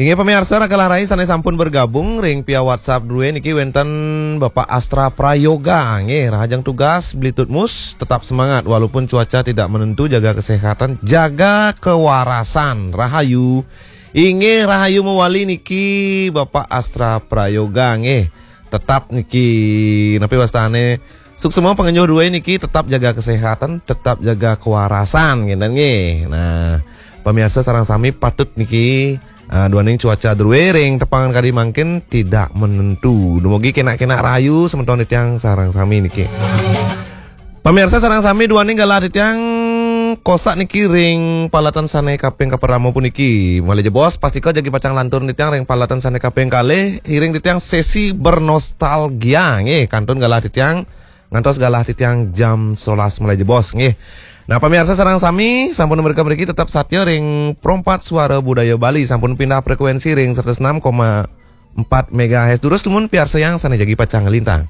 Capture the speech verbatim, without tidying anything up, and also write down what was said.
Inggih pamiarsa, raka rai sané sampun bergabung ring via WhatsApp drué niki wénten Bapak Astra Prayoga. Nggih, rahajeng tugas, Blitutmus, tetap semangat walaupun cuaca tidak menentu, jaga kesehatan, jaga kewarasan. Rahayu. Inggih, rahayu mawali niki Bapak Astra Prayoga nggih. Tetap niki napi wastané, suksma pangenjur drué niki tetap jaga kesehatan, tetap jaga kewarasan, ngénten nggih. Nah, pamiarsa sareng sami patut niki, ah, duaning cuaca drué ring tepangan kadi mangkin tidak menentu. Dumugi kénak-kénak rahayu semeton titiang sareng sami niki. Pamiarsa sareng sami, duaning galah titiang kosak niki ring palaten sané kaping kapertama puniki. Malih jebos, pastika jagi pacang lantur titiang ring palaten sané kaping kalih, iring titiang sesi bernostalgia nggih, kantun galah titiang ngantos galah titiang jam solas malih jebos nggih. Nah, pamiarsa sareng sami, sampun mrika mriki tetap satia ring Pro empat Suara Budaya Bali, sampun pindah frekuensi ring seratus enam koma empat megahertz. Durus dumun piarsayang sané jagi pacang nglintang.